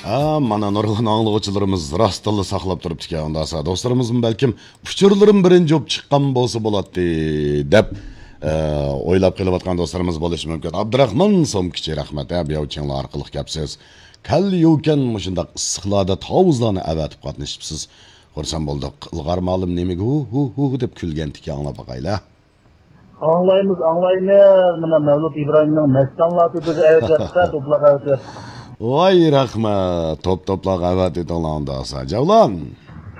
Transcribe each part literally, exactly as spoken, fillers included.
ھە، مانا نۇرغۇن ئاڭلىغۇچىلىرىمىز راستتىنلا ساقلاپ تۇرۇپتىكەن. ئۇنداقسا دوستلىرىمىزمۇ بەلكىم ئۇچۇرلىرىم بىرىنچى بولۇپ چىققان بولسا بولاتتى دەپ، ئە، ئويلاپ قېلىۋاتقان دوستلىرىمىز بولۇشى مۇمكىن. ئابدۇراخمان سومكىچى، رەھمەت، ھە، بىياۋچىڭلار ئارقىلىق كەپسىز. كەللە يوكەن مۇشۇنداق ئىسسىقلاردا تاۋۇزلارنى ئەۋەتىپ قاتنىشىپسىز. خۇرسەن بولدۇق. ئىلغار مالىم نېمىگە ھۇ، ھۇ، ھۇ، ھۇ دەپ كۈلگەنتىكەن، ئاڭلاپ باقايلى. ئاڭلايمىز، ئاڭلايمىز. مانا مەۋلۇت ئىبراھىمنىڭ مەستانلار تۆپىگە ئەۋەتىۋەتسە، توپلاپ ئەۋەتىۋەت. ۋاي رەھمەت، توپ توپلاپ ئەۋەتىۋېتىڭلار ئۇنداقسا. جەۋلان.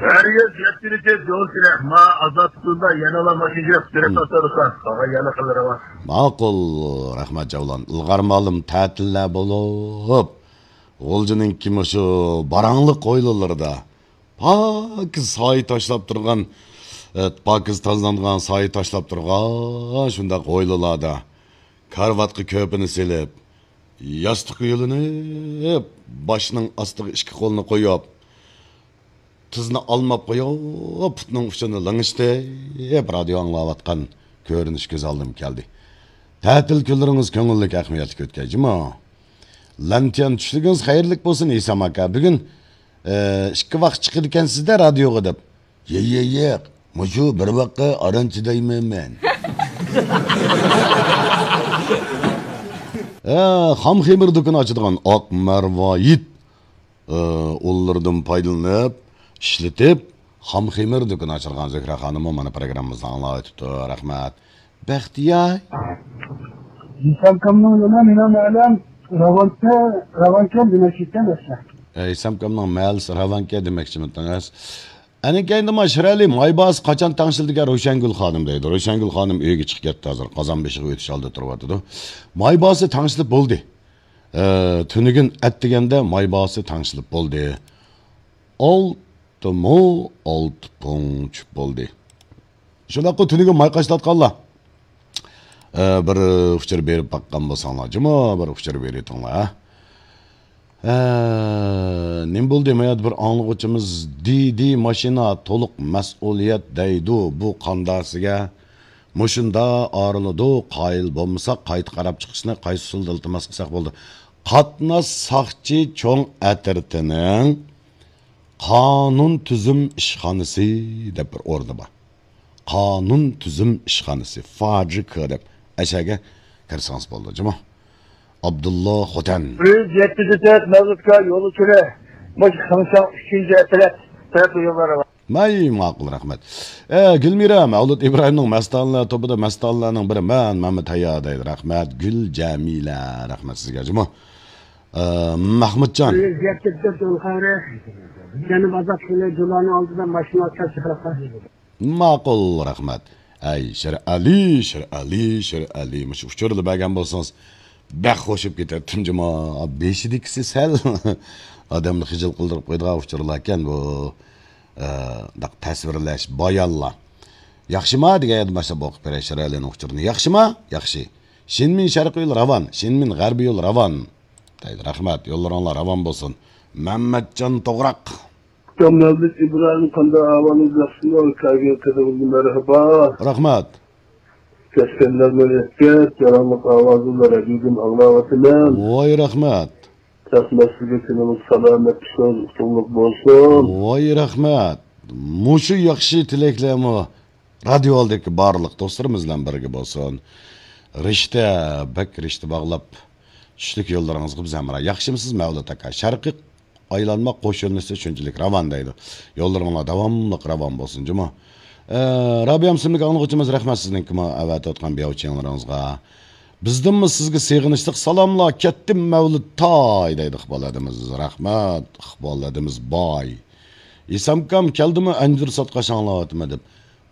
ھەرگىز يەتكىنىچە جوز كېرەك. ما ئازاد تۇتۇلدا يەنىلا ماشىنا يۈرۈپ، سۈرەت تارتىۋاتىسەن. ساڭا يەنە خىلى راۋان. ماقۇل، رەھمەت جەۋلان. ئىلغار مالىم تەتىللەر بولۇپ، غۇلجىنىڭكى مۇشۇ باراڭلىق ھويلىلىرىدا پاكىز سايە تاشلاپ تۇرغان، ئە، پاكىز تازىلانغان سايە تاشلاپ تۇرغان شۇنداق ھويلىلاردا كارىۋاتقا كۆرپىنى سېلىپ، ياستۇققا يۆلىنىپ، باشنىڭ ئاستىغا ئىككى قولىنى قويۇپ، تىزنى ئالماپ قويۇپ، پۇتنىڭ ئۇچىنى لىڭشىتىپ، رادىيو ئاڭلاۋاتقان كۆرۈنۈش كۆز ئالدىمغا كەلدى. تەتىل كۈنلىرىڭىز كۆڭۈللۈك، ئەھمىيەتلىك ئۆتكەي جۇمۇ. لەنتيەن چۈشلۈكىڭىز خەيرلىك بولسۇن، ھېسام ئاكا. بۈگۈن، ئە، ئىككى ۋاق چىقىدىكەنسىز-دە رادىيوغا دەپ. يە، يە، ياق. مۇشۇ بىر ۋاققا ئاران چىدايمەن مەن. ئە، خام خېمىر دۇكىنى ئاچىدىغان ئاق مەرۋايىت، ئە، ئۇللىرىدىن پايدىلىنىپ، ئىشلىتىپ، خام خېمىر دۇكىنى ئاچىدىغان زۆھرە خانىممۇ مانا پروگراممىمىزنى ئاڭلاۋېتىپتۇ. رەھمەت. بەختىيار. ھېسامكامنىڭ يولى مېنىڭ مەھەللەم راۋانكە، راۋانكەن دېمەكچىكەن ئەسلى. ئە، ھېسامكامنىڭ مەھەللىسى راۋانكە دېمەكچىمىدىڭىز؟ ئەنە كەينىدە ما شىرئەلى مايباسى قاچان تەڭشىلدىكەن روشەنگۈل خانىم دەيدۇ. روشەنگۈل خانىم ئۆيگە چىقىپ كەتتى ھازىر. قازان بېشىغا ئۆتۈش ئالدىدا تۇرۇۋاتىدۇ. مايباسى تەڭشىلىپ بولدى. ئە، تۈنۈگۈن ئەتىگەندە مايباسى تەڭشىلىپ بولدى. ئالتە مو، ئالتە پۇڭ چۈشۈپ بولدى. شۇنداققۇ تۈنۈگۈن ماي قاچىلاتقانلار. ئە، بىر ئۇچۇر بېرىپ باققان بولساڭلار، جۇمۇ بىر ئۇچۇر بېرىۋېتىڭلار، ھە؟ ئە، نېمە بولدى؟ ما يەردە بىر ئاڭلىغۇچىمىز دى دى ماشىنا تولۇق مەسئۇلىيەت دەيدۇ، بۇ قانداقسىگە؟ مۇشۇندا ئايرىلىدۇ، قايىل بولمىساق قايتا قاراپ چىقىشنى قايسى ئۇسۇلدا ئىلتىماس قىلساق بولىدۇ؟ قاتناش ساقچى چوڭ ئەترىتىنىڭ قانۇن تۈزۈم ئىشخانىسى دەپ بىر ئورنى بار. قانۇن تۈزۈم ئىشخانىسى، فاجىكا دەپ ئەشەگە كىرسىڭىز بولىدۇ جۇمۇ. ئابدۇللا خوتەن. بىر يۈز يەتتە يۈز تۆت مەۋلۇتكا يول ئۇچۇرى. مۇشۇ خېڭشاڭ ئۈچىنچى ئەترەت تەرەپ يوللىرى بار. ماي ماقۇل، رەھمەت. ئە، گۈلمىرا، مەۋلۇت ئىبراھىمنىڭ مەستانىلەر توپىدا مەستانىلەرنىڭ بىرى مەن، مەمەت ھايا دەيدۇ. رەھمەت، گۈل جەمىلە، رەھمەت سىزگە جۇمۇ. ئە، مەھمۇتجان. بىر يۈز يەتتە يۈز تۆت يول خەۋىرى. جەنۇب ئازاد يولى جۇلانىڭ ئالدىدا ماشىنا ئاتقان چىقىرىققا. ماقۇل، رەھمەت. ئەي، شىرئەلى، شىرئەلى، شىرئەلى. مۇشۇ ئۇچۇرنى بەرگەن بولسىڭىز، بەك خوش بولۇپ كېتەتتىم جۇمۇ. بېشىدىكىسى سەل ئادەمنى خىجىل قىلدۇرۇپ قويىدىغان ئۇچۇرلاركەن بۇ. ئە، داق تەسۋىرلەش، بايانلار. ياخشىما دېگەن يەردىن باشلاپ ئوقۇپ بېرەي شىرئەلىنىڭ ئۇچۇرىنى. ياخشىما؟ ياخشى. شىنمىن شەرقىي يول راۋان، شىنمىن غەربىي يول راۋان. دەيدۇ. رەھمەت، يوللىرىڭلار راۋان بولسۇن. مەممەتجان توغراق. مەۋلۇت ئىبراھىم، قانداق ئەھۋالىڭىز، ياخشىمۇ؟ كەلگەن قېتىمىزگە مەرھابا. رەھمەت. كەچكەنلەرمۇ يەتكەچ، جاراڭلىق ئاۋازىڭلار رادىيودىن ئاڭلاۋاتىمەن. ۋاي رەھمەت. تەخمەسلىكى كۈنىڭىز سالامەت ئىشىڭىز ئۇتۇقلۇق بولسۇن. ۋاي رەھمەت. مۇشۇ ياخشى تىلەكلەرمۇ رادىيو ئالدىدىكى بارلىق دوستلىرىمىز بىلەن بىرگە بولسۇن. رىشتە، بەك رىشتە باغلاپ، چۈشلۈك يوللىرىڭىزغا بىز ھەمراھ. ياخشىمۇسىز مەۋلۇت ئاكا؟ شەرقىي ئايلانما قوش يۆنىلىشى شۇنچىلىك راۋان دەيدۇ. يوللىرىڭلار داۋاملىق راۋان بولسۇن جۇمۇ. ئە، رابىيەم ئىسىملىك ئاڭلىغۇچىمىز، رەھمەت سىزنىڭكىمۇ ئەۋەتىۋاتقان بىياۋچىڭلىرىڭىزغا. بىزدىنمۇ سىزگە سېغىنىشلىق سالاملار، كەتتىم مەۋلۇت تاي دەيدۇ ئىقبال ھەدىمىز. رەھمەت، ئىقبال ھەدىمىز باي. ئىسامكام كەلدىمۇ ئەنجۈر ساتقاچ ئاڭلاۋاتىمەن دەپ.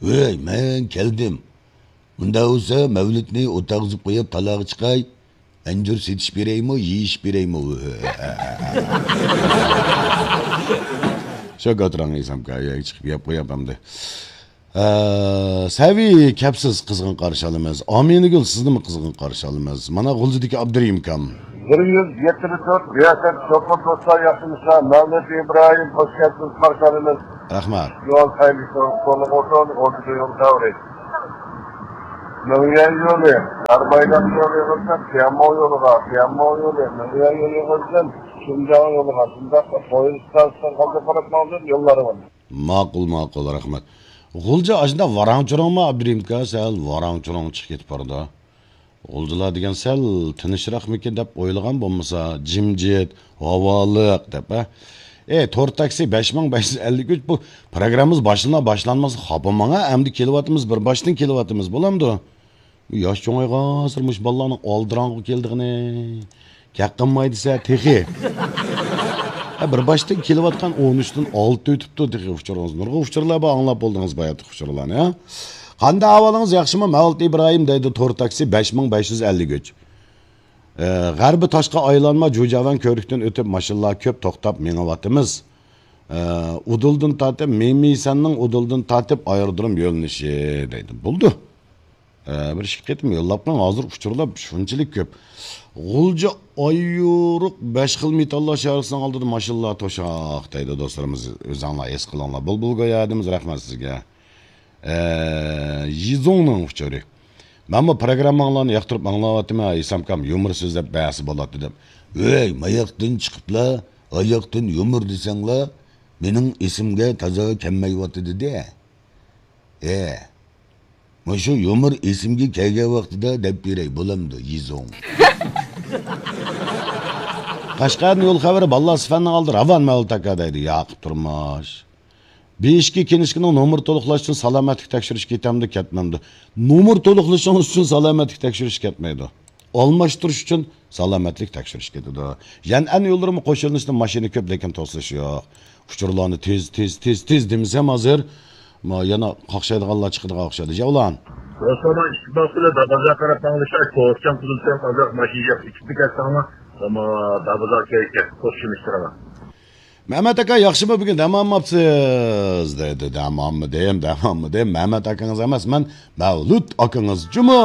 ۋەي، مەن كەلدىم. ئۇنداق بولسا مەۋلۇتنى ئولتۇرغۇزۇپ قويۇپ تالاغا چىقاي. ئەنجۈر سېتىش بېرەيمۇ، يېيىش بېرەيمۇ؟ شۇ ئوتۇرۇڭ ئىسامكا، چىقىپ يەپ قوياپ ئەمدى. ئە، سەۋى كەپسىز قىزغىن قارشى ئالىمىز. ئامىنىگۈل سىزنىمۇ قىزغىن قارشى ئالىمىز. مانا غۇلجىدىكى ئابدۇرېھىمكام. بىر يۈز يەتتە تۆت رىياسەت چوقۇم دوستلار ياخشىمىسىلەر؟ مەمەت ئىبراھىم، خوش كەپسىز قارشى ئالىمىز. رەھمەت. يول خەيرلىك بولسۇن، ئوتتۇز يول دەۋرى. مېڭيۈەن يولى، ئەربايدان يولى يىغىلسۇن، تيەنمو يولىغا، تيەنمو يولى، مېڭيۈەن يولى يىغىلسۇن، شىنجاڭ يولىغا، شۇنداقلا پويىز ئىستانسىسىغا قالدى قاراپ ماڭدىم، يوللارغا. ماقۇل، ماقۇل، رەھمەت. غۇلجا ئاشۇنداق ۋاراڭ-چۇرۇڭمۇ، ئابدۇرېھىم ئاكا؟ سەل ۋاراڭ-چۇرۇڭ چىقىپ كېتىپ بارىدۇ. غۇلجىلار دېگەن سەل تىنچراقمىكىن دەپ ئويلىغان بولمىسا، جىمجىت، ھاۋالىق دەپ، ھە؟ ئەي، تور تاكسى بەش مىڭ بەش يۈز ئەللىك ئۈچ، بۇ پروگراممىمىز باشلىنار باشلانماس خاپا ماڭا، ئەمدى كېلىۋاتىمىز، بىر باشتىن كېلىۋاتىمىز، بولامدۇ؟ ياش چوڭايغانسېرى مۇشۇ بالىلارنىڭ ئالدىراڭغۇ كېلىدىغىنى. گەپ قىلماي دېسە تېخى. ھە، بىر باشتىن كېلىۋاتقان ئون ئۈچتىن ئالتە ئۆتۈپتۇ تېخى ئۇچۇرىڭىز. نۇرغۇن ئۇچۇرلار بار، ئاڭلاپ بولدىڭىز باياتقى ئۇچۇرلارنى، ھە؟ قانداق ئەھۋالىڭىز، ياخشىمۇ؟ مەۋلۇت ئىبراھىم دەيدۇ، تور تاكسى بەش مىڭ بەش يۈز ئەللىك ئۈچ. ئە، غەربىي تاشقا ئايلانما، جۇجاۋەن كۆۋرۈكتىن ئۆتۈپ ماشىنىلار كۆپ توختاپ مېڭىۋاتىمىز. ئە، ئۇدۇلدىن تارتىپ، مىمىسەننىڭ ئۇدۇلدىن تارتىپ ئايرودروم يۆنىلىشى دەيدۇ. بولدى. ئە، بىر ئىككى قېتىم يوللاپ قويۇڭ، ھازىر ئۇچۇرلار شۇنچىلىك كۆپ. غۇلجا ئايرۇق بەش خىل مېتاللار شارىسىنىڭ ئالدىدا ماشىنىلار توشاق دەيدۇ دوستلىرىمىز. ئۆزۈڭلار ھېس قىلىڭلار. بۇلبۇل گويا ئادىمىز، رەھمەت سىزگە. ئە، يىزۇڭنىڭ ئۇچۇرى. مەنمۇ پروگرامماڭلارنى ياقتۇرۇپ ئاڭلاۋاتىمەن، ھېسامكام يۇمۇرسىز دەپ بەسى بولاتتى دەپ. ۋەي، ماياقتىن چىقىپلا، ئاياقتىن يۇمۇر دېسەڭلار، مېنىڭ ئېسىمگە تازا كەلمەيۋاتىدۇ-دە. ھە، مۇشۇ يۇمۇر ئېسىمگە كەلگەن ۋاقتىدا دەپ بېرەي، بولامدۇ، يىزۇڭ؟ قەشقەردىن يول خەۋىرى، بالىلار سىفەننىڭ ئالدى راۋان مەۋلۇت ئاكا دەيدۇ، ياقۇپ تۇرمۇش. بىر ئىككى كىنىشكىنىڭ نومۇر تولۇقلاش ئۈچۈن سالامەتلىك تەكشۈرۈش كېتەمدۇ، كەتمەمدۇ؟ نومۇر تولۇقلىشىڭىز ئۈچۈن سالامەتلىك تەكشۈرۈش كەتمەيدۇ. ئالماشتۇرۇش ئۈچۈن سالامەتلىك تەكشۈرۈش كېتىدۇ. يەنئەن يوللىرىمۇ قوشۇلۇشتا ماشىنا كۆپ، لېكىن توسۇلۇش يوق. ئۇچۇرلارنى تېز، تېز، تېز، تېز دېمىسەم ھازىر، ما، يەنە قاقشايدىغانلار چىقىدىغان ئوخشايدۇ. جەۋلان. دوستلار، ئىتتىپاق بىلەن دابازا قاراپ ماڭلىشاي، توسچان قۇدۇلسان ئازراق ماشىنا ياق، ئىككى كەتسەڭلار، ئەمما دابازا كەيكە، توسچىمىشتىرىڭلار. مەمەت ئاكا، ياخشىمۇ بۈگۈن، دەم ئالماپسىز؟ دەيدۇ، دەم ئالمىدىم، دەم ئالمىدىم. مەمەت ئاكىڭىز ئەمەس، مەن مەۋلۇت ئاكىڭىز جۇمۇ.